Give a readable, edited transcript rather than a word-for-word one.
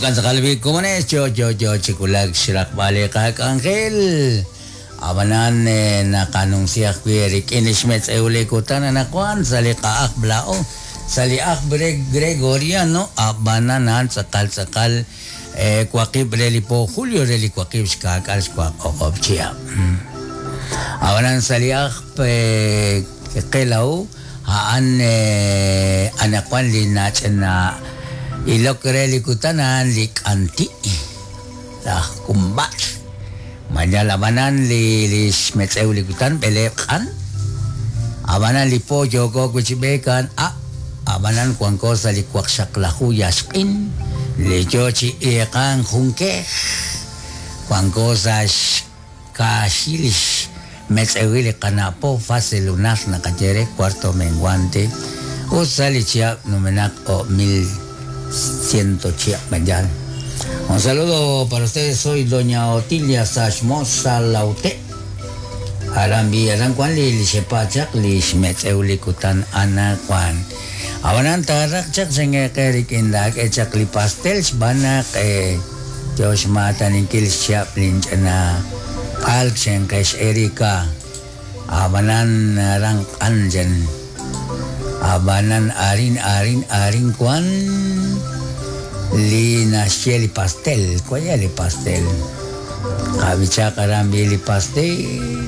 Jo'kan tz'aqal b'i' komonex yo yo yo chi wulak xraqb'al li qak'anjel. Ab'anan naqanumsi ajwi' eerik'in li xmetz'ew li kutan anaqwan sa' li qa'ajb' laa'o sa' li ajb' re Gregoriano ab'anan a'an tz'aqal tz'aqal waqib' re li po julio re li waqib' xkaak'al xwaq o'q'ob' chihab'. Ab'anan sa' li ajb' qe laa'o a'an anaqwan li nach'ina ilok re li kutan a'an li k'anti' laj Kumbatz. Mañal ab'anan li li xmetz'ew li kutan b'eleeb' q'an. Ab'anan li po yooko wi' chi b'eek a'an a', ab'anan wanko sa' li waqxaqlaju yaxq'in li yo chi iiqank jun kej. Wanko sa' xkaaxil li xmetz'ewil li qana' po, fase lunar naqaye re, cuarto menguante, ut sa' li chihab' numenaq o'mil ciento chihab' mañal. Un saludo para ustedes, soy doña Otilia Sashmosa Laute. Aran bi aran wan li li xepa chaq li xmetz'ew li kutan anaqwan. Ab'anan taaraq chaq xingeqe rik'in laak'e chaq li pastel xb'aan naq yo xmaataninkil xchihab' linch'ina p'alk xinqex Erika. Ab'anan aran q'an chan. Ab'anan arin arin arin wan li naxye li pastel. Kuaya li pastel. Qab'ichaq aran bi li pastel.